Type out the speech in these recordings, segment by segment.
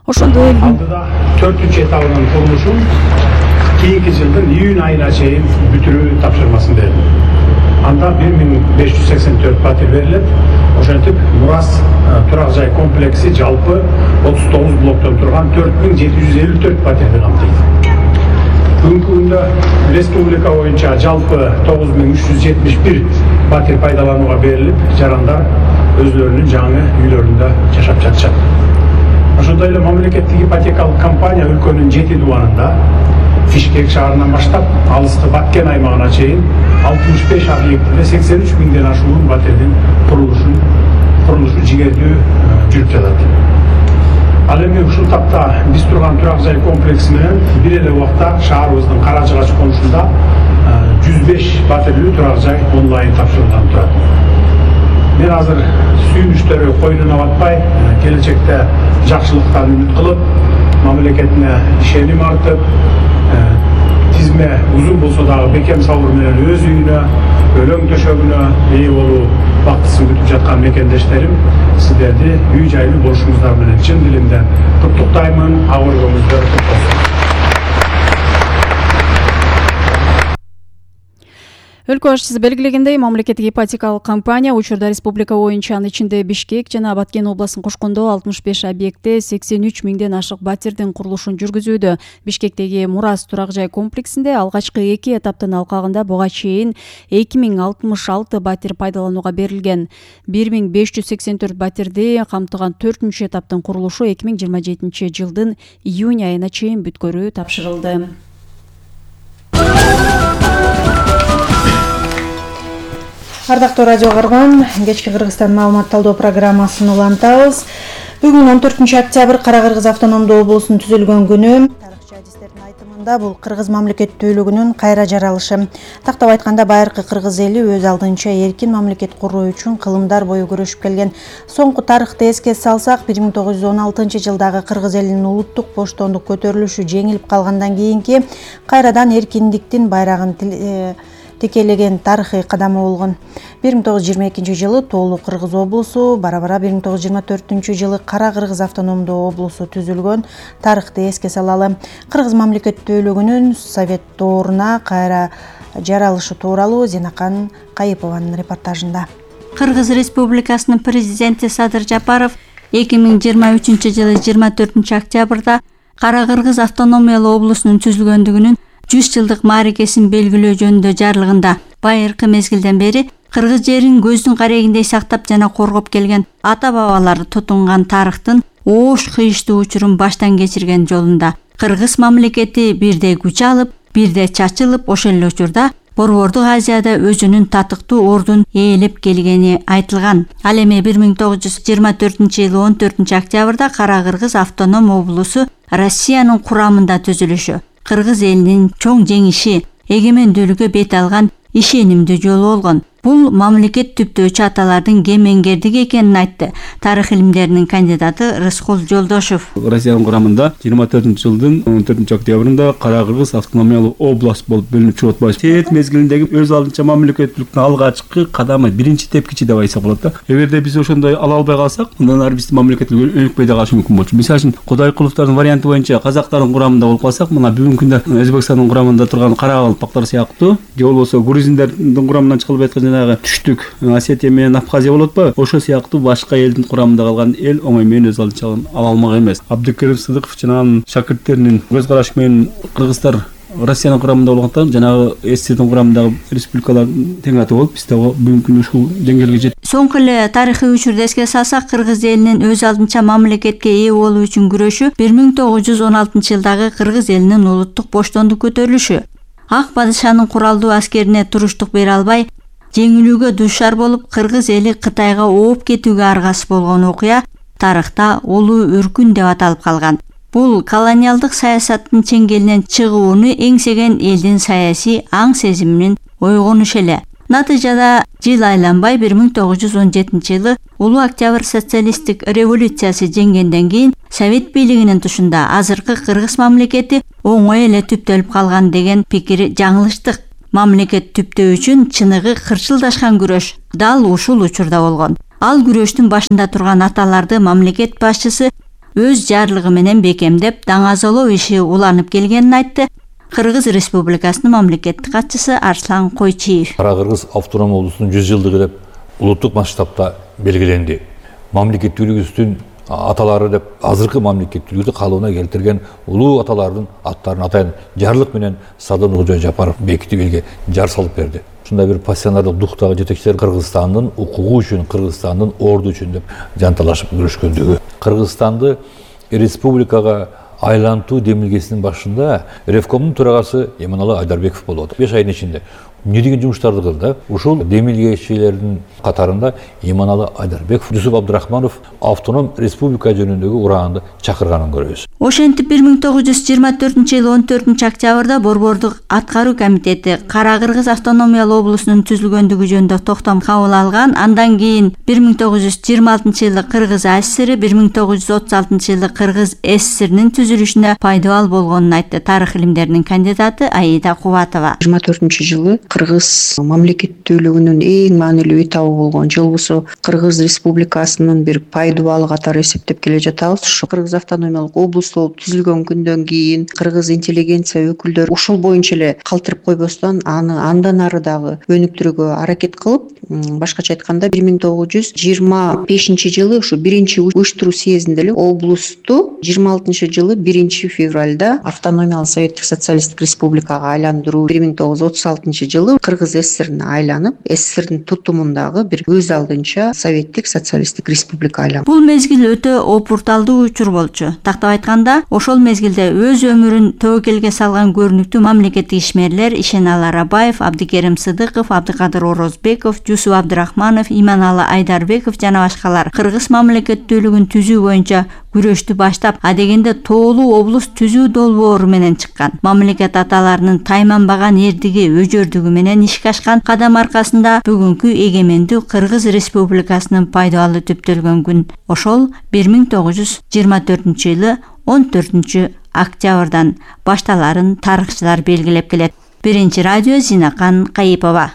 Ошондой эле алдыда 4-чү этабынын курулушун кийинки жылдын июнь айына чейин бүтүрүү тапшырмасын берди. Анда 1584 батир берилет. Ошентип Мурас турак жай комплекси жалпы 39 блоктон турган 4754 батирди камтыйт. Бүгүнкү күндө республика боюнча жалпы 9371 батир пайдаланууга берилип, жарандар өзлөрүнүн жаңы үйлөрүндө жашап жатышат. Ошондой эле мамлекеттик ипотекалык компания өлкөнүн 7 дубанында Бишкек шаарынан баштап алыскы Баткен аймагына чейин 65 объектиде 83 миңден ашуун батирдин курулушу жигердүү жүрүп жатат. Ал эми ушул тапта биз турган турак жай комплекси менен бир эле убакта шаарыбыздын Карачыгач конушунда 105 батирлүү турак жай онлайн тапшырылган турат. Мен азыр сүйүнүчтөрү койнуна батпай, келечекте жакшылыктан үмүт кылып, мамлекетине ишеним артып, тизме узун болсо дагы бекем сабыр менен өз үйүнө, өлөң төшөгүнө ээ болуу бактысын күтүп жаткан мекендештерим, сиздерди үй жайлуу болушуңуздар менен чын дилимден куттуктаймын. Абыройуңуздар кут болсун. Өлкө башчысы белгилегендей, мамлекеттик ипотекалык компания учурда республика боюнча анын ичинде Бишкек жана Баткен областын кошкондо 65 объектте 83 миңден ашык батирдин курулушун жүргүзүүдө. Бишкектеги Мурас турак жай комплексинде алгачкы 2 этаптын алкагында буга чейин 2066 батир пайдаланууга берилген. 1584 батирди камтыган 4-чү этаптын курулушу 2027 жылдын июнь айына чейин бүткөрүү тапшырылды. Ардактуу радио каарман, кечки Кыргызстан маалымат талдоо программасын улантабыз. Бүгүн 14 октябрь Кара-Кыргыз автономдуу облусунун түзүлгөн күнү. Тарыхчы адистердин айтымында бул кыргыз мамлекеттүүлүгүнүн кайра жаралышы. Тактап айтканда, байыркы кыргыз эли өз алдынча эркин мамлекет куруу үчүн кылымдар бою күрөшүп келген. Соңку тарыхты эске салсак, 1916 жылдагы кыргыз элинин улуттук боштондук көтөрүлүшү жеңилип калгандан кийинки кайрадан эркиндиктин байрагын текелеген тарыхый кадамы болгон. 1922 жылы Тоолу Кыргыз облусу, бара-бара 1924 жылы Кара-Кыргыз автономдуу облусу түзүлгөн. Тарыхты эске салалы. Кыргыз мамлекеттүүлүгүнүн Совет дооруна кайра жаралышы тууралуу Зенакан Кайыпованын репортажында. Кыргыз Республикасынын президенти Садыр Жапаров 2023 жылы 24 октябрда Кара-Кыргыз автономиялуу облусунун түзүлгөндүгүнүн 100 жылдык мааракесин белгилөө жөнүндө жарлыгында байыркы мезгилден бери кыргыз жерин көздүн карегиндей сактап жана коргоп келген ата-бабалары тутунган тарыхтын оош кыйыштуу учурун баштан кечирген жолунда кыргыз мамлекети бирде күч алып, бирде чачылып, ошол эле учурда Борбордук Азияда өзүнүн татыктуу ордун ээлеп келгени айтылган. Ал эми 1924 жылы 14 октябрда Кара-Кыргыз автоном облусу Россиянын курамында түзүлүшү кыргыз элинин чоң жеңиши, эгемендүүлүккө бет алган ишенимдүү жолу болгон. Бул мамлекет түптөөчү аталардын кемеңгердиги экенин айтты тарых илимдеринин кандидаты Рыскул Жолдошов. Россиянын курамында 24 жылдын 14 октябрында Кара-Кыргыз автономиялуу область болуп бөлүнүп чыгып атпайбы. Совет мезгилиндеги өз алдынча мамлекеттүүлүктүн алгачкы кадамы, биринчи тепкичи деп айтсак болот да. Эгерде биз ошондой ала албай калсак, андан ары биздин мамлекеттүүлүк өнүкпөй да калышы мүмкүн болчу. Мисалы үчүн Кудайкуловдордун варианты боюнча казактардын курамында болуп калсак, мына бүгүнкү күндө Өзбекстандын курамында турган каракалпактар сыяктуу, же болбосо грузиндердин курамынан чыгылып аткан түштүк Осетия менен Абхазия болот ба? Ошо сыяктуу башка элдин курамында калган эл оңой менен өз алдынча ала алмак эмес. Абдыкерим Сыдыков жана анын шакирттеринин көз карашы менен кыргыздар Россиянын курамында болгондон жанагы СССРдин курамындагы республикалар тең аты болуп, биз дагы бүгүнкү күндө ушул деңгээлге жеттик. Соңку эле тарыхый учурду эске салсак, кыргыз элинин өз алдынча мамлекетке ээ болуу үчүн күрөшү 1916 жылдагы кыргыз элинин улуттук боштондук көтөрүлүшү. Ак падышанын куралдуу аскерине туруштук бере албай, жеңилүүгө дуушар болуп, кыргыз эли Кытайга ооп кетүүгө аргасыз болгон окуя тарыхта улуу өркүн деп аталып калган. Бул колониалдык саясаттын чеңгелинен чыгууну эңсеген элдин саясий аң сезиминин ойгонушу эле. Натыйжада жыл айланбай 1917 жылы Улуу Октябрь социалисттик революциясы жеңгенден кийин Совет бийлигинин тушунда азыркы кыргыз мамлекети оңой эле түптөлүп калган деген пикир жаңылыштык. Мамлекет түптөө үчүн чыныгы кырчылдашкан күрөш дал ушул учурда болгон. Ал күрөштүн башында турган аталарды мамлекет башчысы өз жарлыгы менен бекемдеп, даңазолоо иши уланып келгенин айтты. Кыргыз Республикасынын мамлекеттик катчысы Арслан Койчиев. Кара-Кыргыз автономия облусунун 100 жылдыгы деп улуттук масштабта белгиленди. Мамлекеттүүлүгүбүздүн аталары деп азыркы мамлекеттүүлүктү калыбына келтирген улуу аталардын аттарын атайын жарлык менен Садын Кожо Жапаров бекитип элге жар салып берди. Ушундай бир пассионардык дуктагы жетекчилер Кыргызстандын укугу үчүн, Кыргызстандын орду үчүн деп жанталашып күрөшкөндүгү. Кыргызстанды республикага айлантуу демилгесинин башында Ревкомдун төрагасы Эманалы Айдарбеков болуп атат. 5 айдын ичинде эмне деген жумуштарды кылды? Ушул демилгечилердин катарында Эманалы Айдарбеков, Жусуп Абдрахманов автоном республика жөнүндөгү ураанды чакырганын көрөбүз. Ошентип 1924-жылы 14-октябрда Борбордук аткаруу комитети Кара-Кыргыз автономиялуу облусунун түзүлгөндүгү жөнүндө токтом кабыл алган. Андан кийин 1926-жылы Кыргыз АССР, 1936-жылы Кыргыз СССРнин түзүлүшүнө пайдабал болгонун айтты тарых илимдеринин кандидаты Аида Кубатова. 24-жылы Кыргыз мамлекеттүүлүгүнүн эң маанилүү этабы болгон жылбусу Кыргыз Республикасынын бир пайдабалы катары эсептеп келе жатабыз. Ушу Кыргыз автономиялык облус болуп түзүлгөн күндөн кийин кыргыз интеллигенция өкүлдөрү ушул боюнча эле калтырып койбостон аны андан ары дагы өнүктүрүүгө аракет кылып, башкача айтканда 1925-жылы ушу 1-уюштуруу съездинде эле облусту 26-жылы 1-февралда автономиялык советтик социалисттик республикага айландыруу, 1936-жылы Кыргыз СССРине айланып, СССРдин тутумундагы бир өз алдынча советтик социалисттик республика айланды. Бул мезгил өтө опурталдуу учур болчу. Тактап айтканда, ошол мезгилде өз өмүрүн тобокелге салган көрүнүктүү мамлекеттик ишмерлер Ишеналы Арабаев, Абдыкерим Сыдыков, Абдыкадыр Орозбеков, Жусуп Абдрахманов, Иманалы Айдарбеков жана башкалар кыргыз мамлекеттүүлүгүн түзүү боюнча күрөштү баштап, адегенде тоолуу облус түзүү долбоору менен чыккан. Мамлекет аталарынын тайманбаган эрдиги, өжөрдүгү менен ишке ашкан кадам аркасында бүгүнкү эгемендүү Кыргыз Республикасынын пайдабалы түптөлгөн күн. Ошол 1924-жылы 14-октябрдан башталарын тарыхчылар белгилеп келет. Биринчи радио Зинакан Кайыпова.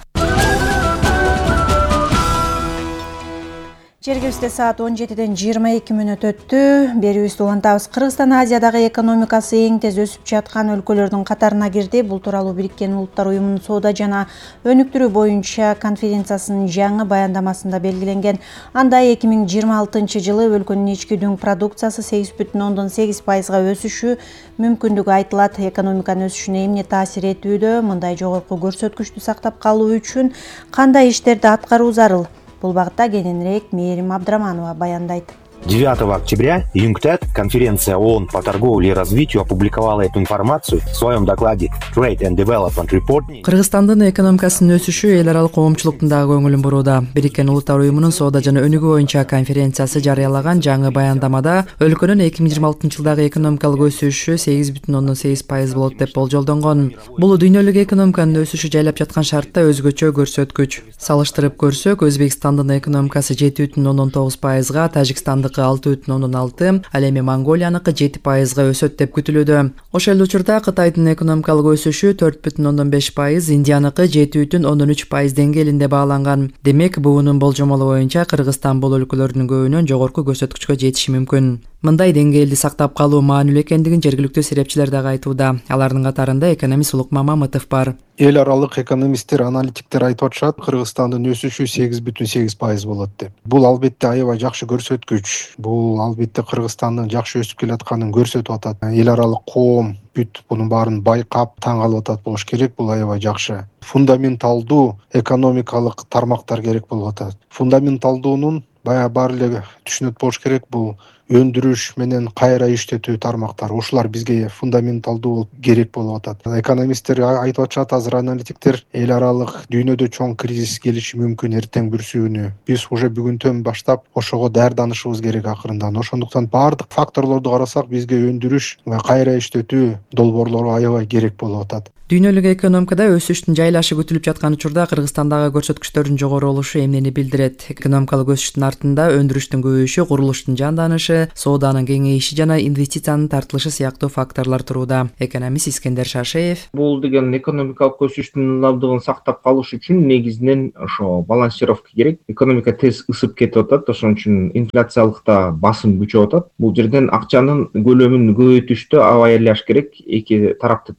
Жергибизде саат 17:22 өттү. Берүүбүздү улантабыз. Кыргызстан Азиядагы экономикасы эң тез өсүп жаткан өлкөлөрдүн катарына кирди. Бул тууралуу Бириккен Улуттар Уюмунун соода жана өнүктүрүү боюнча конференциясынын жаңы баяндамасында белгиленген. Анда 2026-жылы өлкөнүн ички дүң продукциясы 8,8%га өсүшү мүмкүндүгү айтылат. Экономиканын өсүшүнө эмне таасир этүүдө? Мындай жогорку көрсөткүчтү сактап калуу үчүн кандай иштерди аткаруу зарыл? Бул багытта кененирээк Мээрим Абдраманова баяндайт. 9 октября ЮНКТАД, конференция ООН по торговле и развитию, опубликовала эту информацию в своем докладе Trade and Development Report. Кыргызстандын экономикасынын өсүшү эл аралык коомчулуктун дагы көңүлүн бурууда. Бириккен Улуттар Уюмунун соода жана өнүгүү боюнча конференциясы жарыялаган жаңы баяндамада өлкөнүн 2026-жылдагы экономикалык өсүшү 8,8% болот деп болжолдонгон. Бул дүйнөлүк экономиканын өсүшү жайлап жаткан шартта өзгөчө көрсөткүч. Салыштырып көрсөк, Өзбекстандын экономикасы 7,9%га, Тажикстандын 6,6, ал эми Монголияныкы 7%га өсөт деп күтүлүүдө. Ошол эле учурда Кытайдын экономикалык өсүшү 4,5%, Индияныкы 7,3% деңгээлинде бааланган. Демек, буунун болжомолу боюнча Кыргызстан бул өлкөлөрдүн көбүнөн жогорку көрсөткүчкө жетиши мүмкүн. Мындай деңгээлди сактап калуу маанилүү экендигин жергиликтүү серепчилер дагы айтууда. Алардын катарында экономист Улук Мамамытов бар. Эл аралык экономисттер, аналитиктер айтып атышат, Кыргызстандын өсүшү 8,8% болот деп. Бул албетте аябай жакшы көрсөткүч. Бул албетте Кыргызстандын жакшы өсүп келатканын көрсөтүп атат. Эл аралык коом бүт мунун баарын байкап таң калып атат болуш керек. Бул аябай жакшы. Фундаменталдуу экономикалык тармактар керек болуп атат. Фундаменталдуунун баары эле түшүнөт болуш керек. Бул өндүрүш менен кайра иштетүү тармактар. Ушулар бизге фундаменталдуу керек болуп атат. Экономисттер айтып атышат, азыр аналитиктер, эл аралык дүйнөдө чоң кризис келиши мүмкүн эртең бүрсүүнү. Биз уже бүгүнтөн баштап ошого даярданышыбыз керек акырындан. Ошондуктан баардык факторлорду карасак, бизге өндүрүш ва кайра иштетүү долбоорлору аябай керек болуп атат. Дүйнөлүк экономикада өсүштүн жайлашы күтүлүп жаткан учурда Кыргызстандагы көрсөткүчтөрдүн жогору болушу эмнени билдирет? Экономикалык өсүштүн артында өндүрүштүн көбөйүшү, курулуштун жанданышы, сооданын кеңейиши жана инвестициянын тартылышы сыяктуу факторлор турууда. Экономист Искендер Шашеев: Бул деген экономикалык өсүштүн ылдамдыгын сактап калыш үчүн негизинен ошо балансировка керек. Экономика тез ысып кетип атат, ошон үчүн инфляциялыкта басым күчөп атат. Бул жерден акчанын көлөмүн көбөйтүштө аба аяш керек. Эки тарапты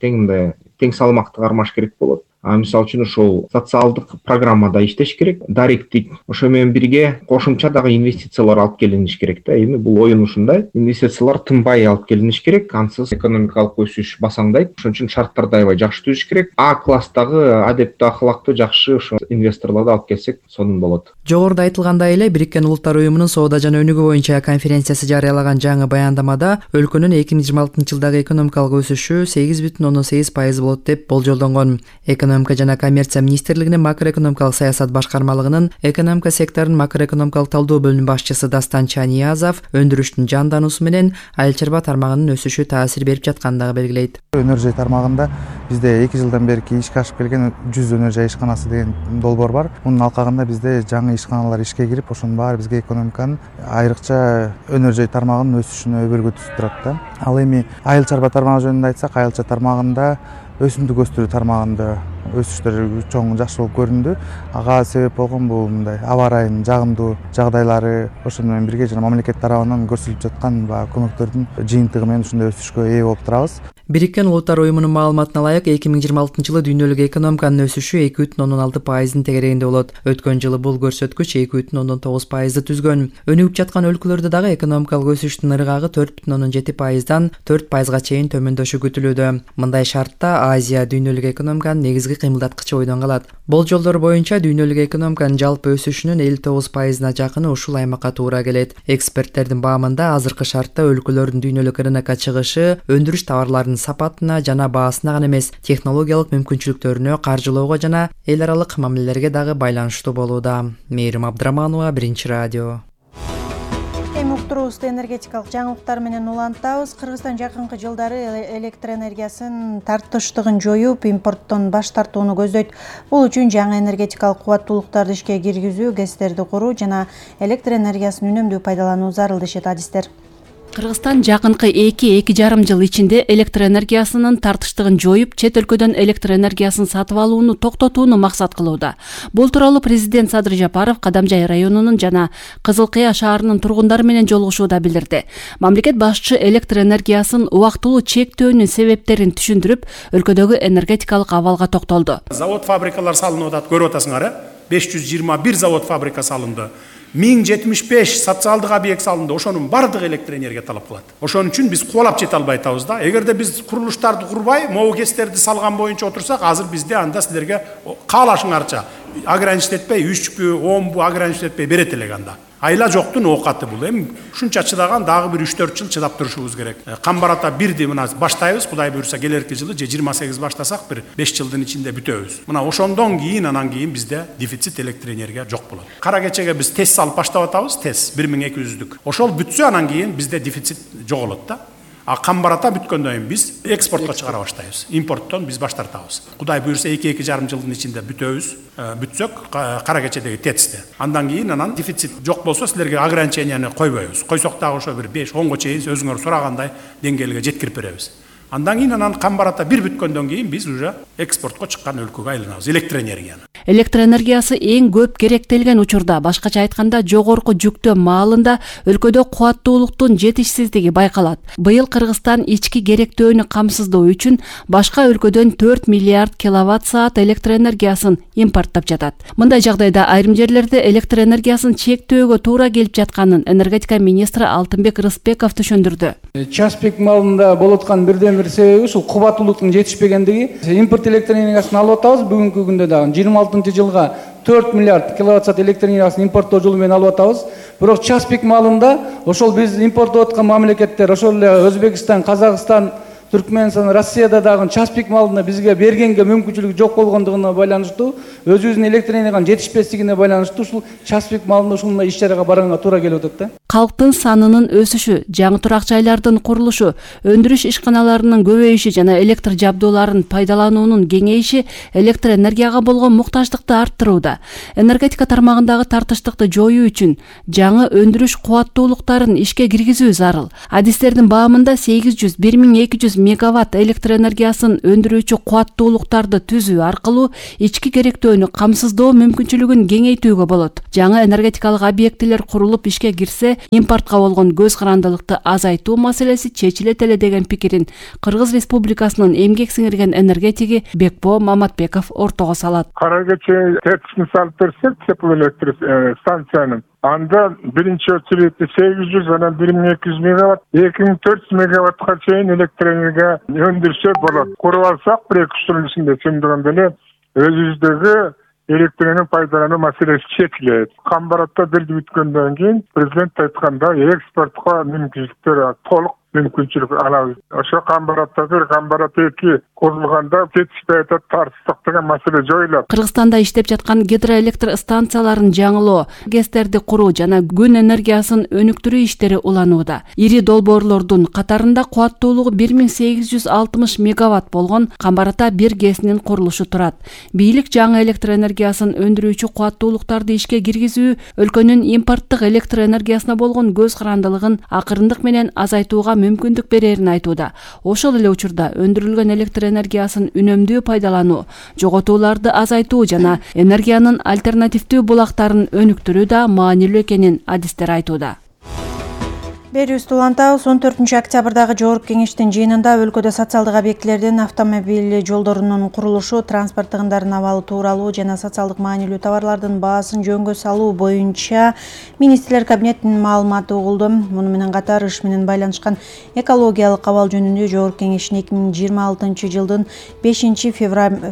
тең салмакты кармаш керек болот. Мисалы үчүн ошол социалдык программада иштеш керек. Даректик ошо менен бирге кошумча дагы инвестициялар алып келиниш керек да. Эми бул оюн ушундай. Инвестициялар тынбай алып келиниш керек. Ансыз экономикалык өсүш басаңдайт. Ошон үчүн шарттарды аябай жакшы түзүш керек. А класстагы адептүү, ахлактуу, жакшы ошо инвесторлорду алып келсек, сонун болот. Жогоруда айтылгандай эле Бириккен Улуттар уюмунун соода жана өнүгүү боюнча конференциясы жарыялаган жаңы баяндамада өлкөнүн 2026 жылдагы экономикалык өсүшү 8,8% болот деп болжолдонгон. Экономика жана коммерция министрлигинин макроэкономикалык саясат башкармалыгынын экономика секторунун макроэкономикалык талдоо бөлүм башчысы Дастан Чаниязов өндүрүштүн жандануусу менен айыл чарба тармагынын өсүшү таасир берип жатканын дагы белгилейт. Өнөр жай тармагында бизде 2 жылдан берки ишке ашып келген 100 өнөр жай ишканасы деген долбоор бар. Мунун алкагында бизде жаңы ишканалар ишке кирип, ошонун баары бизге экономиканын айрыкча өнөр жай тармагынын өсүшүнө өбөлгө түзүп турат да. Ал эми айыл чарба тармагы жөнүндө айтсак, айыл чарба тармагында өсүмдүк өстүрүү тармагында өсүштөр чоң жакшы болуп көрүндү. Ага себеп болгон бул мындай аба ырайынын жагымдуу жагдайлары, ошону менен бирге жана мамлекет тарабынан көрсөтүлүп жаткан көмөктөрдүн жыйынтыгы менен ушундай өсүшкө ээ болуп турабыз. Бириккен Улуттар уюмунун маалыматына ылайык 2026 жылы дүйнөлүк экономиканын өсүшү 2,6%-ын тегерегинде болот. Өткөн жылы бул көрсөткүч 2,9%-ды түзгөн. Өнүгүп жаткан өлкөлөрдө дагы экономикалык өсүштүн ыргагы 4,7%-дан 4%га чейин төмөндөшү күтүлүүдө. Мындай шартта Азия дүйнөлүк экономиканын негизги кыймылдаткычы бойдон калат. Болжолдор боюнча дүйнөлүк экономиканын жалпы өсүшүнүн 59%-на жакыны ушул аймакка туура келет. Эксперттердин баамында азыркы шартта өлкөлөрдүн дүйнөлүк рынокко чыгышы өндүрүш товарларынын сапатына жана баасына гана эмес, технологиялык мүмкүнчүлүктөрүнө, каржылоого жана эл аралык мамилелерге дагы байланыштуу болууда. Мээрим Абдыраманова, Биринчи радио. Эми уктуруубузду энергетикалык жаңылыктар менен улантабыз. Кыргызстан жакынкы жылдары электр энергиясын тартыштыгын жоюп, импорттон баш тартууну көздөйт. Бул үчүн жаңы энергетикалык кубаттуулуктарды ишке киргизүү, ГЭСтерди куруу жана электр энергиясын үнөмдүү пайдалануу зарыл дешет адистер. Кыргызстан жакынкы 2-2,5 жыл ичинде электр энергиясынын тартыштыгын жоюп, чет өлкөдөн электр энергиясын сатып алууну токтотууну максат кылууда. Бул тууралуу президент Садыр Жапаров Кадамжай районунун жана Кызыл Кыя шаарынын тургундары менен жолугушууда билдирди. Мамлекет башчы электр энергиясын убактылуу чектөөнүн себептерин түшүндүрүп, өлкөдөгү энергетикалык абалга токтолду. Завод фабрикалар салынып атат, көрүп атасыңар, 521 завод фабрика салынды. 1075 социалдык объект салынды. Ошонун бардыгы электр энергия талап кылат. Ошон үчүн биз кубалап жете албай атабыз да. Эгерде биз курулуштарды курбай, могу ГЭСтерди салган боюнча отурсак, азыр бизде анда силерге каалашыңарча ограничить этпей, 3-пү, 10-пу ограничить этпей берет элек анда. Айла жоктун оокаты бул. Эми ушунча чыдаган дагы бир 3-4 жыл чыдап турушубуз керек. Камбарата 1ди мына баштайбыз, Кудай буйрса келерки жылы же 28 баштасак бир 5 жылдын ичинде бүтөбүз. Мына ошондон кийин анан кийин бизде дефицит электр энергия жок болот. Кара кечеге биз ТЭС салып баштап атабыз, ТЭС 1200'лүк. Ошол бүтсө анан кийин бизде дефицит жоголот да. А камбарата бүткөндөн кийин биз экспортко чыгара баштайбыз. Импорттон биз баш тартабыз. Кудай буйрса 2-2,5 жылдын ичинде бүтөбүз. Бүтсөк кара кечедеги ТЭЦти. Андан кийин анан дефицит жок болсо силерге ограниченияны койбойбуз. Койсок дагы ошо бир 5-10го чейин өзүңөр сурагандай деңгээлге жеткирип беребиз. Андан кийин анан камбарата бир бүткөндөн кийин биз уже экспортко чыккан өлкөгө айланабыз электр энергияны. Электр энергиясы эң көп керектелген учурда, башкача айтканда жогорку жүктөө маалында өлкөдө кубаттуулуктун жетишсиздиги байкалат. Быйыл Кыргызстан ички керектөөнү камсыздоо үчүн башка өлкөдөн 4 миллиард киловатт-саат электр энергиясын импорттоп жатат. Мындай жагдайда айрым жерлерде электр энергиясын чектөөгө туура келип жатканын энергетика министри Алтынбек Рыспеков түшүндүрдү. Час пик маалында болуп аткан бирден бир себеби ушул кубаттуулуктун жетишпегендиги. Импорт электр энергиясын алып атабыз, бүгүнкү күндө дагы 26-жылга 4 миллиард киловатт-саат электр энергиясын импорттоо жолу менен алып атабыз. Бирок час пик маалында ошол биз импорттоп аткан мамлекеттер, ошол эле Өзбекстан, Казакстан, Түркмөнстан, Россияда дагы час пик маалында бизге бергенге мүмкүнчүлүгү жок болгондугуна байланыштуу, өзүбүздүн электр энергиянын жетишпестигине байланыштуу ушул час пик маалында ушундай иш чарага барганга туура келип атат да. калктын санынын өсүшү, жаңы турак жайлардын курулушу, өндүрүш ишканаларынын көбөйүшү жана электр жабдууларын пайдалануунун кеңейиши электр энергияга болгон муктаждыкты арттырууда. Энергетика тармагындагы тартыштыкты жоюу үчүн жаңы өндүрүш кубаттуулуктарын ишке киргизүү зарыл. Адистердин баамында 800–1200 мегаватт электр энергиясын өндүрүүчү кубаттуулуктарды түзүү аркылуу ички керектөөнү камсыздоо мүмкүнчүлүгүн кеңейтүүгө болот. Жаңы энергетикалык объектилер курулуп ишке кирсе, импортко болгон көз карандылыкты азайтуу маселеси чечилет эле деген пикирин Кыргыз Республикасынын эмгек сиңирген энергетиги Бекбо Маматбеков ортого салат. Кара кече терсин салып берсек, теплоэлектр станциянын анда биринчи очередте 800 анан 1200 мегаватт, 2400 мегаваттка чейин электр энергия өндүрсө болот. Куруп алсак, 1-2 жылдын ичинде чындыгында эле өзүбүздөгү электр энергияны пайдалануу маселеси чечилет. Камбаратта бирди бүткөндөн кийин президент айтканда экспортко мүмкүнчүлүктөр толук мүмкүнчүлүк алабыз. Ошо Камбаратта 1, Камбарат 2 курулганда жетишпей атат, тартыштык деген маселе жоюлат. Кыргызстанда иштеп жаткан гидроэлектр станцияларын жаңылоо, ГЭСтерди куруу жана күн энергиясын өнүктүрүү иштери уланууда. Ири долбоорлордун катарында кубаттуулугу 1860 мегаватт болгон Камбарата 1 ГЭСинин курулушу турат. Бийлик жаңы электр энергиясын өндүрүүчү кубаттуулуктарды ишке киргизүү өлкөнүн импорттук электр энергиясына болгон көз карандылыгын акырындык менен азайтууга мүмкүндүк берерин айтууда. Ошол эле учурда өндүрүлгөн электр энергиясын үнөмдүү пайдалануу, жоготууларды азайтуу жана энергиянын альтернативдүү булактарын өнүктүрүү да маанилүү экенин адистер айтууда. Берүүбүздү улантабыз. 14 октябрдагы Жогорку кеңештин жыйынында өлкөдө социалдык объектилердин автомобиль жолдорунун курулушу, транспорт тыгындарын абалы тууралуу жана социалдык маанилүү товарлардын баасын жөнгө салуу боюнча министрлер кабинетинин маалыматы угулду. Муну менен катар иш менен байланышкан экологиялык абал жөнүндө Жогорку кеңештин 2026 жылдын 5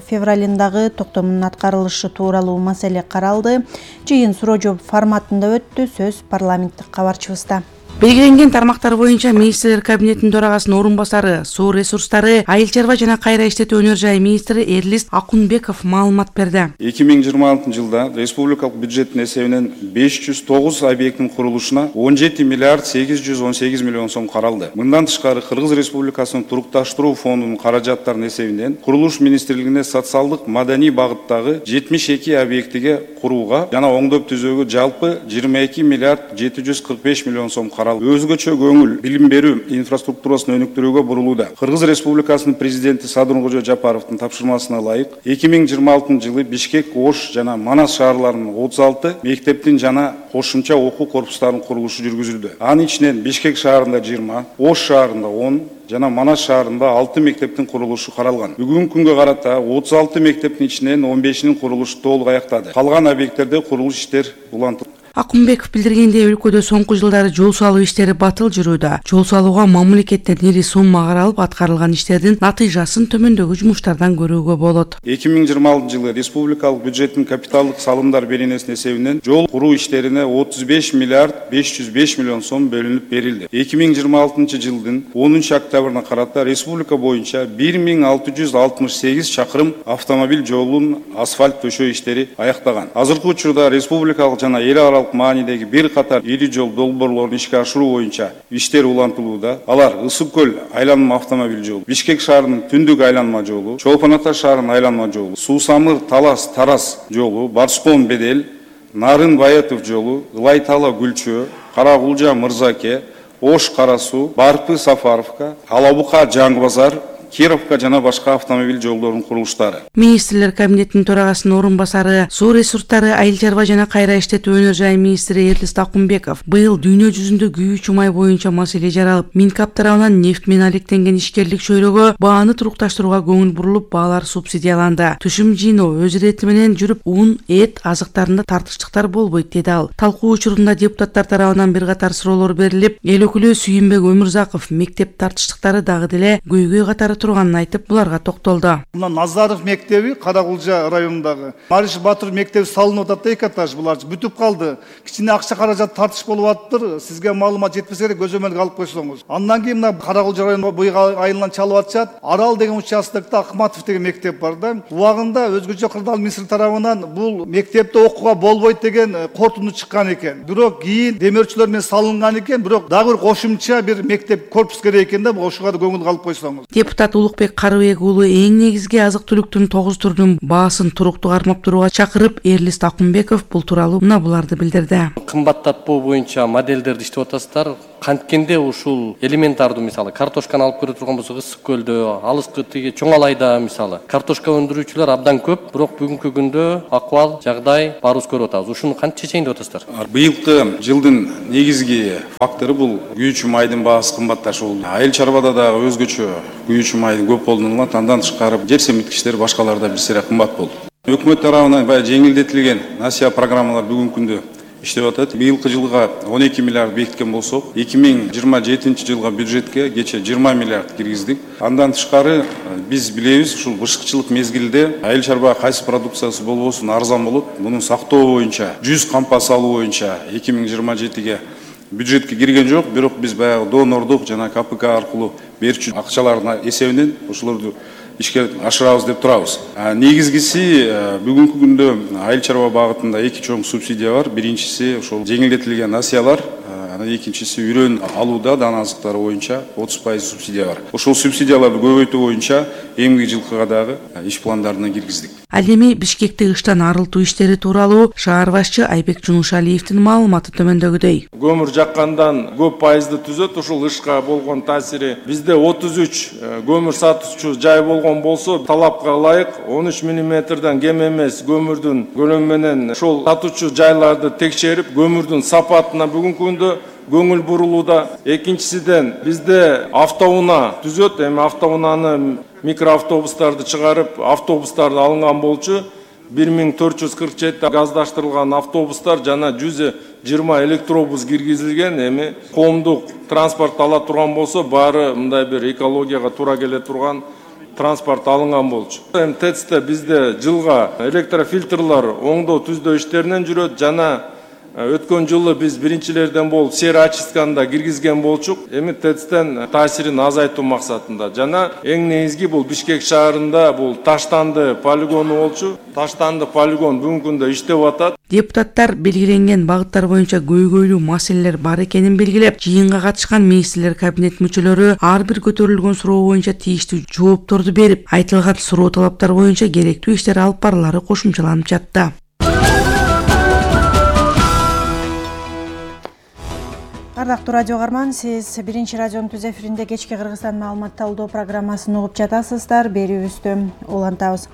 февралындагы токтомунун аткарылышы тууралуу маселе каралды. Жыйын суроо жооп форматында өттү. Сөз парламенттик кабарчыбызда. Белгиленген тармактар боюнча министрлер кабинетинин төрагасынын орун басары, суу ресурстары, айыл чарба жана кайра иштетүү өнөр жай министри Эрлис Акунбеков маалымат берди. 2026 жылда республикалык бюджеттин эсебинен 509 объекттин курулушуна 17 миллиард 818 миллион сом каралды. Мындан тышкары Кыргыз Республикасынын турукташтыруу фондунун каражаттарынын эсебинен курулуш министрлигине социалдык маданий багыттагы 72 объектиге курууга жана оңдоп түзүүгө жалпы 22 миллиард 745 миллион сом каралды. Өзгөчө көңүл билим берүү инфраструктурасын өнүктүрүүгө бурулууда. Кыргыз Республикасынын президенти Садыркожо Жапаровдун тапшырмасына ылайык 2026 жылы Бишкек, Ош жана Манас шаарларынын 36 мектептин жана кошумча окуу корпустарынын курулушу жүргүзүлдү. Анын ичинен Бишкек шаарында 20, Ош шаарында 10 жана Манас шаарында 6 мектептин курулушу каралган. Бүгүнкү күнгө карата 36 мектептин ичинен 15-нин курулушу толук аяктады. Калган объекттерде курулуш иштер улантылды. Акунбеков билдиргендей, өлкөдө соңку жылдары жол салуу иштери батыл жүрүүдө. Жол салууга мамлекеттен ири сумма каралып, аткарылган иштердин натыйжасын төмөндөгү жумуштардан көрүүгө болот. 2026 жылы республикалык бюджеттин капиталдык салымдар беренесинин эсебинен жол куруу иштерине 35 миллиард 505 миллион сом бөлүнүп берилди. 2026 жылдын 10 октябрына карата республика боюнча 1668 чакырым автомобиль жолунун асфальт төшөө иштери аяктаган. Азыркы учурда республикалык жана эл аралык маанидеги бир катар ири жол долбоорлорун ишке ашыруу боюнча иштер улантылууда. Алар Ысык көл айланма автомобиль жолу, Бишкек шаарынын түндүк айланма жолу, Чолпон Ата шаарынын айланма жолу, Суу Самыр Талас Тарас жолу, Барскон Бедел, Нарын Баятов жолу, Ылай Тала Гүлчөө, Карагулжа Мырзаке, Ош Карасуу, Барпы Сафаровка, Алабука Жаңы Базар, Кировка жана башка автомобиль жолдорунун курулуштары. Министрлер кабинетинин төрагасынын орун басары, суу ресурстары, айыл чарба жана кайра иштетүү өнөр жай министри Эрлис Акунбеков быйыл дүйнө жүзүндө күйүүчү май боюнча маселе жаралып, Минкап тарабынан нефть менен алектенген ишкерлик чөйрөгө бааны турукташтырууга көңүл бурулуп, баалар субсидияланды. Түшүм жыйноо өз ирети менен жүрүп, ун, эт азыктарында тартыштыктар болбойт деди ал. Талкуу учурунда депутаттар тарабынан бир катар суроолор берилип, эл өкүлү Сүйүнбек Өмүрзаков мектеп тартыштыктары дагы деле көйгөй катары турганын айтып, буларга токтолду. Мына Назаров мектеби Каракулжа районундагы Мариш Батыр мектеби салынып атат, эки этаж булар бүтүп калды. Кичине акча каражат тартыш болуп атыптыр. Сизге маалымат жетпесе керек, көзөмөлгө алып койсоңуз. Андан кийин мына Каракулжа районунда буйга айылынан чалып атышат. Арал деген участокто Акматов деген мектеп бар да. Убагында өзгөчө кырдаал министри тарабынан бул мектепте окууга болбойт деген кортунду чыккан экен. Бирок кийин демөөрчүлөр менен салынган экен, бирок дагы бир кошумча бир мектеп корпус керек экен да, ошого да көңүл алып койсоңуз. Депутат Улукбек Карыбек уулу эң негизги азык-түлүктүн 9 түрүнүн баасын туруктуу кармап турууга чакырып, Эрлис Такумбеков бул тууралуу мына буларды билдирди. Кымбаттатпоо боюнча модельдерди иштеп атасыздар. Канткенде ушул элементардуу, мисалы, картошканы алып көрө турган болсок, Ысык көлдө, алыскы тиги Чоң Алайда, мисалы, картошка өндүрүүчүлөр абдан көп, бирок бүгүнкү күндө акыбал, жагдай баарыбыз көрүп атабыз. Ушуну кантип чечейин деп атасыздар? Быйылкы жылдын негизги фактору бул күйүүчү майдын баасы кымбатташуу. Айыл чарбада дагы өзгөчө күйүүчү майдын көп колдонулат, андан тышкары жер семирткичтер башкаларда бир сыйра кымбат болду. Өкмөт тарабынан баягы жеңилдетилген насыя программалар бүгүнкү күндө иштеп атат. Быйылкы жылга 12 миллиард бекиткен болсок, 2027 жылга бюджетке кече 20 миллиард киргиздик. Андан тышкары биз билебиз, ушул бышкычылык мезгилде айыл чарба кайсы продукциясы болбосун арзан болот. Мунун сактоо боюнча, 100 кампа салуу боюнча 2027ге бюджетке кирген жок, бирок биз баягы донордук жана КПК аркылуу берүүчү акчалардын эсебинен ошолорду ишке ашырабыз деп турабыз. Негизгиси бүгүнкү күндө айыл чарба багытында эки чоң субсидия бар. Биринчиси ошол жеңилдетилген насыялар, анан экинчиси үрөн алууда дан азыктары боюнча 30% субсидия бар. Ошол субсидияларды көбөйтүү боюнча эмгиги жылкыга дагы иш пландарына киргиздик. Ал эми Бишкекти кыштан арылтуу иштери тууралуу шаар башчы Айбек Жунушалиевдин маалыматы төмөндөгүдөй. Көмүр жаккандан көп пайызды түзөт, ушул ышка болгон таасири. Бизде 33 көмүр сатуучу жай болгон болсо, талапка ылайык 13 мм кем эмес көмүрдүн көлөмү менен ошол сатуучу жайларды текшерип, көмүрдүн сапатына бүгүнкү күндө көңүл бурулууда. Экинчисиден бизде автоунаа түзөт, эми автоунааны микроавтобустарды чыгарып, автобустарды алынган болчу. 1447 газдаштырылган автобустар жана 120 электробус киргизилген. Эми коомдук транспорт ала турган болсо, баары мындай бир экологияга туура келе турган транспорт алынган болчу. Эми ТЭЦте бизде жылга электрофильтрлар оңдоо түздөө иштеринен жүрөт жана өткөн жылы биз биринчилерден болуп сероочистканы киргизген болчук. Эми ТЭЦтен таасирин азайтуу максатында жана эң негизги бул Бишкек шаарында бул таштанды полигону болчу. Таштанды полигон бүгүнкү күндө иштеп атат. Депутаттар белгиленген багыттар боюнча көйгөйлүү маселелер бар экенин белгилеп, жыйынга катышкан министрлер кабинет мүчөлөрү ар бир көтөрүлгөн суроо боюнча тийиштүү жоопторду берип, айтылган суроо талаптар боюнча керектүү иштер алып барылары кошумчаланып жатты. Ардактуу радио угарман, сиз биринчи радионун түз эфиринде кечки Кыргызстан маалымат талдоо программасын угуп жатасыздар. Берүүбүздү улантабыз.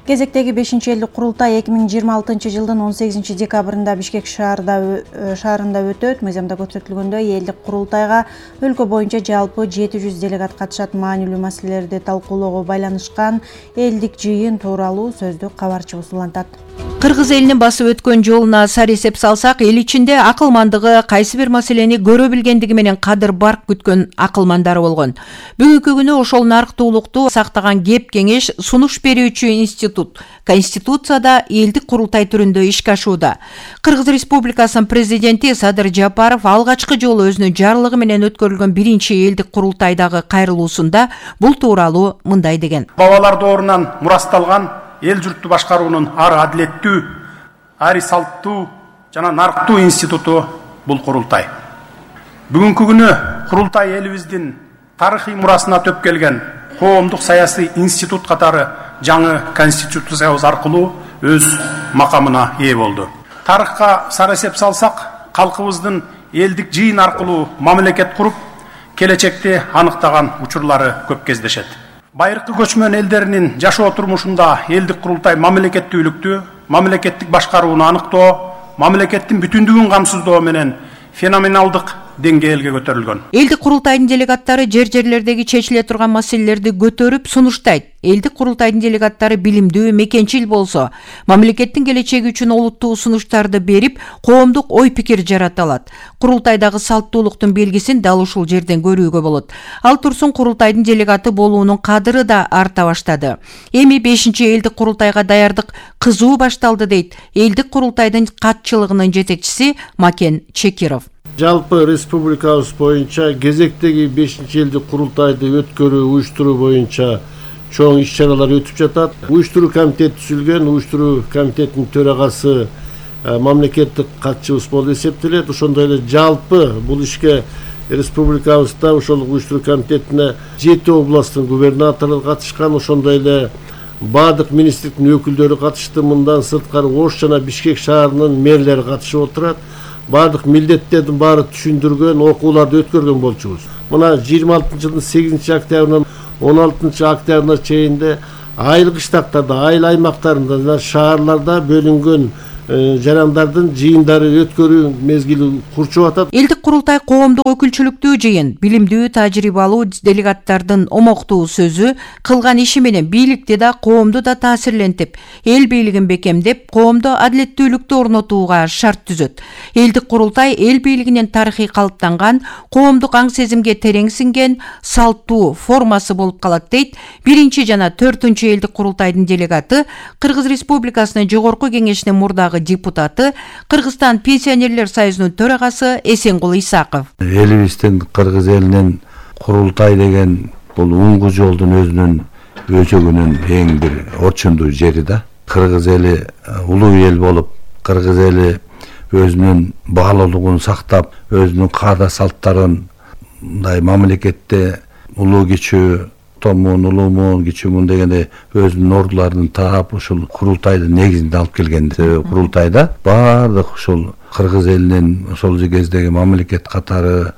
Кезектеги 5-элдик курултай 2026 жылдын 18 декабрында Бишкек шаарында өтөт. Мыйзамда көрсөтүлгөндөй элдик курултайга өлкө боюнча жалпы 700 делегат катышат. Маанилүү маселелерди талкуулоого байланышкан элдик жыйын тууралуу сөздү кабарчыбыз улантат. Кыргыз элинин басып өткөн жолуна сар эсеп салсак, эл ичинде акылмандыгы, кайсы бир маселени көрө билгендиги менен кадыр барк күткөн акылмандары болгон. Бүгүнкү күнү ошол нарктуулукту сактаган кеп кеңеш сунуш берүүчү институт Конституцияда элдик курултай түрүндө ишке ашууда. Кыргыз Республикасынын президенти Садыр Жапаров алгачкы жолу өзүнүн жарлыгы менен өткөрүлгөн биринчи элдик курултайдагы кайрылуусунда бул тууралуу мындай деген. Бабалар доорунан мурасталган эл журтту башкаруунун ар адилеттүү, ар салттуу жана нарктуу институту бул курултай. Бүгүнкү күнү курултай элибиздин тарыхый мурасына төп келген коомдук саясий институт катары жаңы конституциябыз аркылуу өз макамына ээ болду. Тарыхка сар эсеп салсак, калкыбыздын элдик жыйын аркылуу мамлекет куруп, келечекти аныктаган учурлары көп кездешет. Байыркы көчмөн элдеринин жашоо турмушунда элдик курултай мамлекеттүүлүктү, мамлекеттик башкарууну аныктоо, мамлекеттин бүтүндүгүн камсыздоо менен феноменалдык деңгээлге көтөрүлгөн. Элдик курултайдын делегаттары жерлердеги чечиле турган маселелерди көтөрүп сунуштайт. Элдик курултайдын делегаттары билимдүү, мекенчил болсо, мамлекеттин келечеги үчүн олуттуу сунуштарды берип, коомдук ой-пикир жарата алат. Курултайдагы салттуулуктун белгисин дал ушул жерден көрүүгө болот. Ал турсун курултайдын делегаты болуунун кадыры да арта баштады. Эми 5-чи элдик курултайга даярдык кызуу башталды дейт элдик курултайдын катчылыгынын жетекчиси Макен Чекиров. Жалпы республикабыз боюнча кезектеги 5-чи элдик курултайды өткөрүү, уюштуруу боюнча чоң иш-чаралар өтүп жатат. Уюштуруу комитети түзүлгөн, уюштуруу комитетинин төрагасы мамлекеттик катчыбыз болуп эсептелет. Ошондой эле жалпы бул ишке республикабызда ошол уюштуруу комитетине 7 областтын губернаторлору катышкан, ошондой эле баардык министрликтин өкүлдөрү катышты. Мындан сырткары Ош жана Бишкек шаарынын мэрлери катышып отурат. Баардык милдеттердин баары түшүндүргөн, окууларды өткөргөн болчубуз. Мына 26-жылдын 8 октябрынан 16 октябрына чейин айыл кыштактарда, айыл аймактарында жана шаарларда бөлүнгөн жарандардын жыйындары өткөрүү мезгили курчуп атат. Элдик курултай коомдук өкүлчүлүктүү жыйын, билимдүү, тажрыйбалуу делегаттардын омоктуу сөзү, кылган иши менен бийликти да, коомду да таасирлентип, эл бийлигин бекемдеп, коомдо адилеттүүлүктү орнотууга шарт түзөт. Элдик курултай эл бийлигинин тарыхый калыптанган, коомдук аң сезимге терең сиңген салттуу формасы болуп калат дейт 1 жана 4 элдик курултайдын делегаты, Кыргыз Республикасынын жогорку кеңешинин мурдагы депутаты, Кыргызстан пенсионерлер союзунун төрагасы Эсенкул Исаков. Элибиздин кыргыз элинин курултай деген бул уңгу жолдун өзүнүн өчөгүнүн эң бир орчундуу жери да. Кыргыз эли улуу эл болуп, кыргыз эли өзүнүн баалуулугун сактап, өзүнүн каада салттарын мындай мамлекетте улуу кичүү улуумун, кичүүмүн дегенде өзүнүн ордуларын таап, ушул курултайдын негизинде алып келген. Курултайда баардык ушул кыргыз элинин ошол кездеги мамлекет катары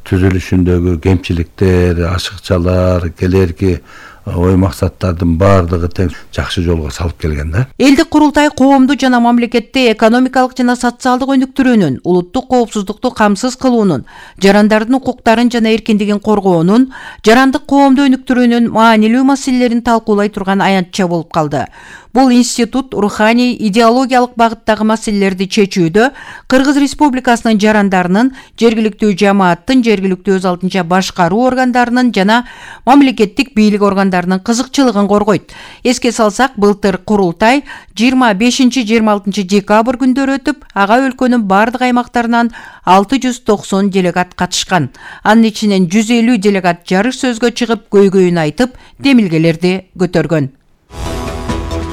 түзүлүшүндөгү кемчиликтер, ашыкчалар, келерки ой максаттардын баардыгы тең жакшы жолго салып келген да. Элдик курултай коомду жана мамлекетте экономикалык жана социалдык өнүктүрүүнүн, улуттук коопсуздукту камсыз кылуунун, жарандардын укуктарын жана эркиндигин коргоонун, жарандык коомду өнүктүрүүнүн маанилүү маселелерин талкуулай турган аянтча болуп калды. Бул институт руханий, идеологиялык багыттагы маселелерди чечүүдө Кыргыз Республикасынын жарандарынын, жергиликтүү жамааттын, жергиликтүү өз алдынча башкаруу органдарынын жана мамлекеттик бийлик органдарынын кызыкчылыгын коргойт. Эске салсак, былтыр курултай 25-26 декабрь күндөрү өтүп, ага өлкөнүн бардык аймактарынан 690 делегат катышкан. Анын ичинен 150 делегат жарыш сөзгө чыгып, көйгөйүн айтып, демилгелерди көтөргөн.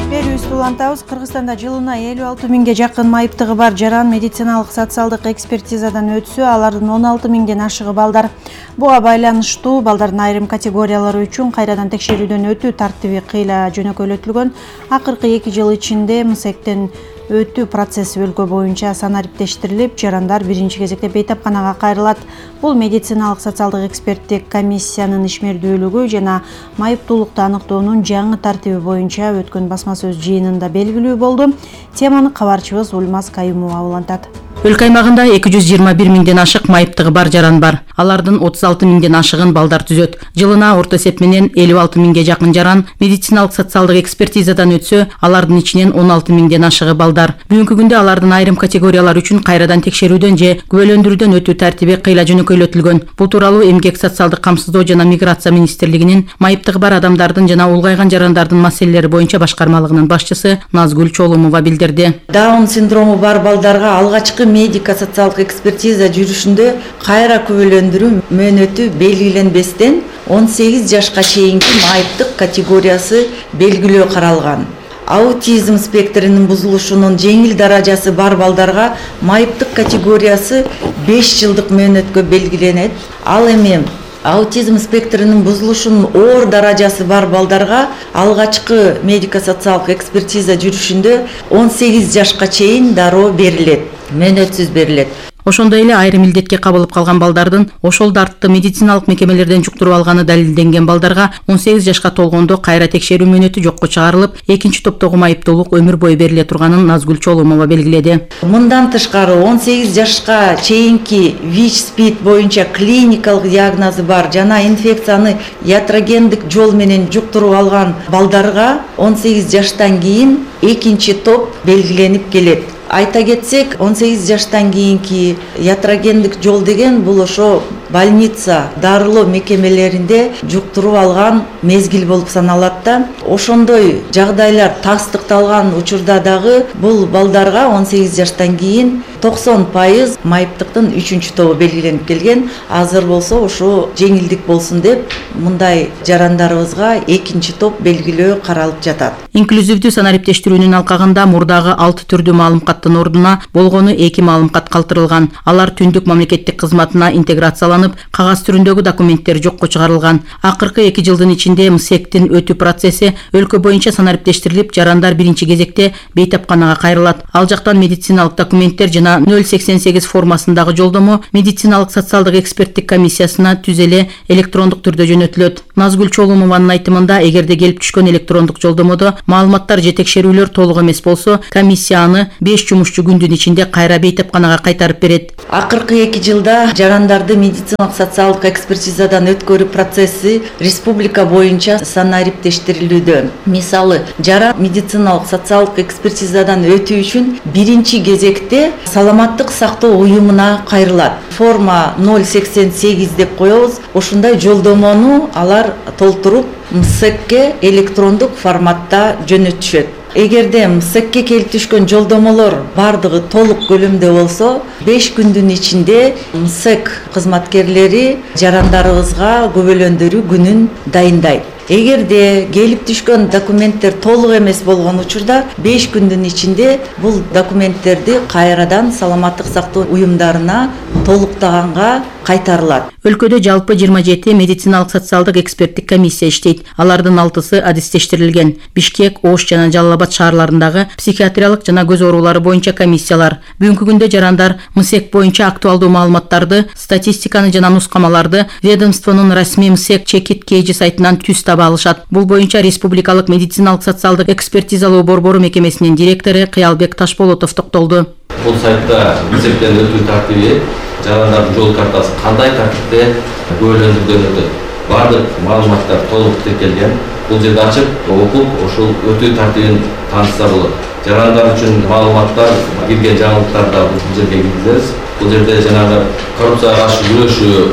Берүүбүздү улантабыз. Кыргызстанда жылына 56 миңге жакын майыптыгы бар жаран медициналык социалдык экспертизадан өтсө, алардын 16 миңден ашыгы балдар. Буга байланыштуу балдардын айрым категориялары үчүн кайрадан текшерүүдөн өтүү тартиби кыйла жөнөкөйлөтүлгөн. Акыркы 2 жыл ичинде МСЭКтен өтүү процесси өлкө боюнча санариптештирилип, жарандар биринчи кезекте бейтапканага кайрылат. Бул медициналык социалдык эксперттик комиссиянын ишмердүүлүгү жана майыптуулукту аныктоонун жаңы тартиби боюнча өткөн басма сөз жыйынында белгилүү болду. Теманы кабарчыбыз Ульмаз Каюмова улантат. Өлкө аймагында 221 миңден ашык майыптыгы бар жаран бар. Алардын 36 миңден ашыгын балдар түзөт. Жылына орто эсеп менен 56 миңге жакын жаран медициналык социалдык экспертизадан өтсө, алардын ичинен 16 миңден ашыгы балдар. Бүгүнкү күндө алардын айрым категориялар үчүн кайрадан текшерүүдөн же күбөлөндүрүүдөн өтүү тартиби кыйла жөнөкөйлөтүлгөн. Бул тууралуу Эмгек социалдык камсыздоо жана миграция министрлигинин майыптыгы бар адамдардын жана улгайган жарандардын маселелери боюнча башкармалыгынын башчысы Назгүл Чолумова билдирди. Даун синдрому бар балдарга алгачкы медико-социалдык экспертиза жүрүшүндө кайра күбөлөндүрүү мөөнөтү белгиленбестен 18 жашка чейинки майыптык категориясы белгилөө каралган. Аутизм спектринин бузулушунун жеңил даражасы бар балдарга майыптык категориясы 5 жылдык мөөнөткө белгиленет. Ал эми аутизм спектринин бузулушунун оор даражасы бар балдарга алгачкы медико-социалдык экспертиза жүрүшүндө 18 жашка чейин дароо берилет, мөөнөтсүз берилет. Ошондой эле айрым илдетке кабылып калган балдардын ошол дартты медициналык мекемелерден жуктуруп алганы далилденген балдарга 18 жашка толгондо кайра текшерүү мөөнөтү жокко чыгарылып, экинчи топтогу майыптуулук өмүр бою бериле турганын Назгүл Чолумова белгиледи. Мындан тышкары 18 жашка чейинки ВИЧ-СПИД боюнча клиникалык диагнозу бар жана инфекцияны ятрогендик жол менен жуктуруп алган балдарга 18 жаштан кийин экинчи топ белгиленип келет. Айта кетсек, 18 жаштан кийинки ятрогендик жол деген бул ошо больница, дарылоо мекемелеринде жуктуруп алган мезгил болуп саналат да. Ошондой жагдайлар тастыкталган учурда дагы бул балдарга 18 жаштан кийин 90% майыптыктын 3-чү тобу белгиленип келген. Азыр болсо ошо жеңилдик болсун деп мындай жарандарыбызга экинчи топ белгилөө каралып жатат. Инклюзивдүү санариптештирүүнүн алкагында мурдагы 6 түрдүү маалымкаттын ордуна болгону 2 маалымкат калтырылган. Алар түндүк мамлекеттик кызматына интеграцияланып, кагаз түрүндөгү документтер жокко чыгарылган. Акыркы 2 жылдын ичинде МСЭКтин өтүү процесси өлкө боюнча санариптештирилип, жарандар биринчи кезекте бейтапканага кайрылат. Ал жактан медициналык документтер жана 088 формасындагы жолдомо медициналык социалдык эксперттик комиссиясына түз эле электрондук түрдө жөнөтүлөт. Назгүл Чолумованын айтымында, эгерде келип түшкөн электрондук жолдомодо маалыматтар же текшерүүлөр толук эмес болсо, комиссия аны 5 жумушчу күндүн ичинде кайра бейтапканага кайтарып берет. Акыркы 2 жылда жарандарды медициналык социалдык экспертизадан өткөрүү процесси республика боюнча санариптештирилүүдө. Мисалы, жаран медициналык социалдык экспертизадан өтүү үчүн биринчи кезекте саламаттык сактоо уюмуна кайрылат. Форма 088 деп коебуз. Ошондой жолдомону алар толтуруп МСЭКке электрондук форматта жөнөтүшөт. Эгерде МСЭКке келип түшкөн жолдомолор бардыгы толук көлөмдө болсо, 5 күндүн ичинде МСЭК кызматкерлери жарандарыбызга көбөлөндүрүү күнүн дайындайт. Эгерде келип түшкөн документтер толук эмес болгон учурда 5 күндүн ичинде бул документтерди кайрадан саламаттык сактоо уюмдарына толуктаганга кайтарылат. Өлкөдө жалпы 27 медициналык социалдык эксперттик комиссия иштейт. Алардын 6-сы адистештирилген. Бишкек, Ош жана Жалал Абад шаарларындагы психиатриялык жана көз оорулары боюнча комиссиялар. Бүгүнкү күндө жарандар МСЭК боюнча актуалдуу маалыматтарды, статистиканы жана нускамаларды ведомствонун расмий МСЭК чекит кейжи сайтынан түз таба алышат. Бул боюнча Республикалык медициналык социалдык экспертизалоо борбору мекемесинин директору Кыялбек Ташболотов токтолду. Бул сайтта МСЭКтен өтүү тартиби, жарандардын жол картасы кандай тартипте көбөлөндүрүлгөн өтөт. Бардык маалыматтар толук тиркелген. Бул жерде ачып, окуп, ошол өтүү тартибин таанышса болот. Жарандар үчүн маалыматтар, кирген жаңылыктарда бул жерге киргизебиз. Бул жерде жанагы коррупцияга каршы күрөшүү,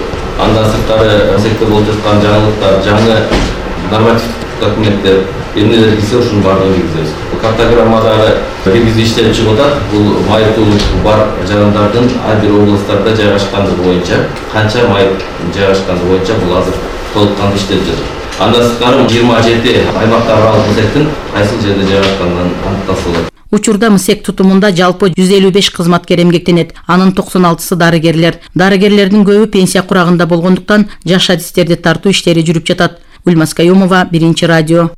андан сырткары МСЭКте болуп жаткан жаңылыктар, жаңы нормативдик документтер, эмнелер кирсе ушунун баардыгын киргизебиз. Бул картограммадагы киргизип иштелип чыгып атат. Бул майыптуулук бар жарандардын ар бир областтарда жайгашкандыгы боюнча, канча майып жайгашкандыгы боюнча бул азыр толук кандуу иштелип жатат. Андан сырткары 27 аймактар аралык МСЭКтин кайсыл жерде жайгашканын аныктаса болот. Учурда МСЭК тутумунда жалпы 155 кызматкер эмгектенет. Анын 96-сы дарыгерлер. Дарыгерлердин көбү пенсия курагында болгондуктан жаш адистерди тартуу иштери жүрүп жатат. Гүлмаз Каюмова, Биринчи радио.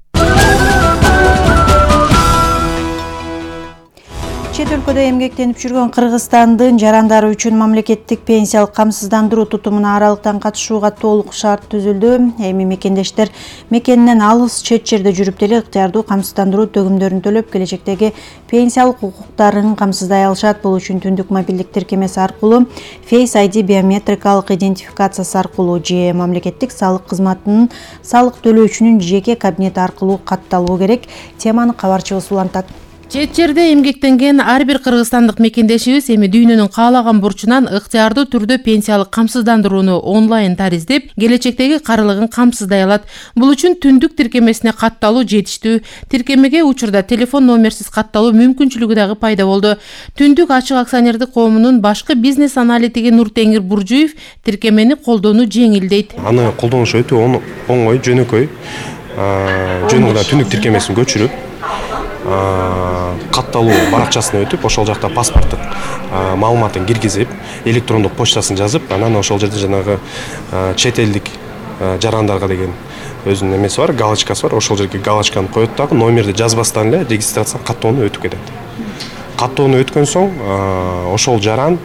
Чет өлкөдө эмгектенип жүргөн Кыргызстандын жарандары үчүн мамлекеттик пенсиялык камсыздандыруу тутумуна аралыктан катышууга толук шарт түзүлдү. Эми мекендештер мекенинен алыс чет жерде жүрүп деле ыктыярдуу камсыздандыруу төгүмдөрүн төлөп, келечектеги пенсиялык укуктарын камсыздай алышат. Бул үчүн түндүк мобилдик тиркемеси аркылуу, Face ID биометрикалык идентификациясы аркылуу же мамлекеттик салык кызматынын салык төлөөчүнүн жеке кабинети аркылуу катталуу керек. Теманы кабарчыбыз улантат. Чет жерде эмгектенген ар бир кыргызстандык мекендешибиз эми дүйнөнүн каалаган бурчунан ыктыярдуу түрдө пенсиялык камсыздандырууну онлайн тариздеп, келечектеги карылыгын камсыздай алат. Бул үчүн түндүк тиркемесине катталуу жетиштүү. Тиркемеге учурда телефон номерсиз катталуу мүмкүнчүлүгү дагы пайда болду. Түндүк ачык акционердик коомунун башкы бизнес аналитиги Нуртеңир Буржуев тиркемени колдонуу жеңил дейт. Аны колдонуш өтө оңой, жөнөкөй. Жөнүндө түндүк тиркемесин көчүрүп, катталуу баракчасына өтүп, ошол жакта паспорттук маалыматын киргизип, электрондук почтасын жазып, анан ошол жерде жанагы чет элдик жарандарга деген өзүнүн эмеси бар, галочкасы бар. Ошол жерге галочканы коет дагы, номерди жазбастан эле регистрация каттоону өтүп кетет. Каттоону өткөн соң ошол жаран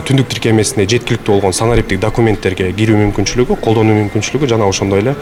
түндүк тиркемесине жеткиликтүү болгон санариптик документтерге кирүү мүмкүнчүлүгү, колдонуу мүмкүнчүлүгү жана ошондой эле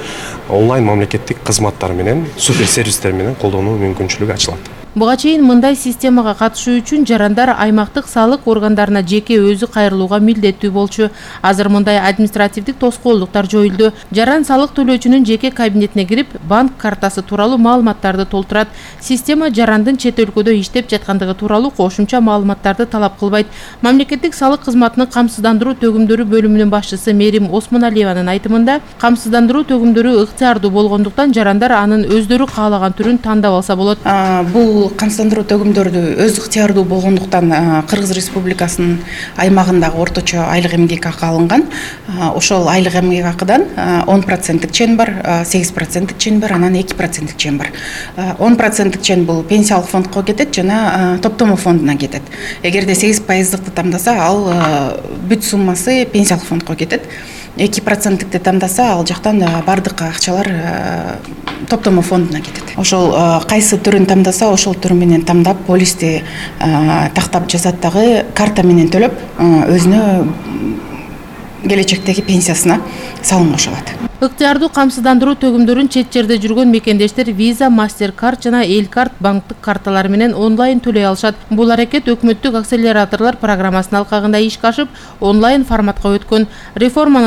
онлайн мамлекеттик кызматтар менен, супер сервистер менен колдонуу мүмкүнчүлүгү ачылат. Буга чейин мындай системага катышуу үчүн жарандар аймактык салык органдарына жеке өзү кайрылууга милдеттүү болчу. Азыр мындай административдик тоскоолдуктар жоюлду. Жаран салык төлөөчүнүн жеке кабинетине кирип, банк картасы тууралуу маалыматтарды толтурат. Система жарандын чет өлкөдө иштеп жаткандыгы тууралуу кошумча маалыматтарды талап кылбайт. Мамлекеттик салык кызматынын камсыздандыруу төгүмдөрү бөлүмүнүн башчысы Мерим Осмоналиеванын айтымында, камсыздандыруу төгүмдөрү ыктыярдуу болгондуктан жарандар анын өздөрү каалаган түрүн тандап алса болот. Бул камсыздандыруу төгүмдөрдү өз ыктыярдуу болгондуктан Кыргыз Республикасынын аймагындагы орточо айлык эмгек акы алынган. Ошол айлык эмгек акыдан 10% чен бар, 8% чен бар, анан 2% чен бар. 10% чен бул пенсиялык фондко кетет жана топтомо фондуна кетет. Эгерде 8%-ды тамдаса, ал бүт суммасы пенсиялык фондко кетет. 2%-ди тамдаса, ал жактан бардык акчалар топтомо фондуна кетет. Ошол кайсы түрүн тамдаса, ошол түрү менен тамдап, полисти тактап жазат дагы, карта менен төлөп, өзүнө келечектеги пенсиясына салым кошо алат. Ыктыярдуу камсыздандыруу төгүмдөрүн чет жерде жүргөн мекендештер Visa, MasterCard жана Элкарт банктык карталары менен онлайн төлөй алышат. Бул аракет өкмөттүк акселераторлор программасынын алкагында ишке ашып, онлайн форматка өткөн. Реформанын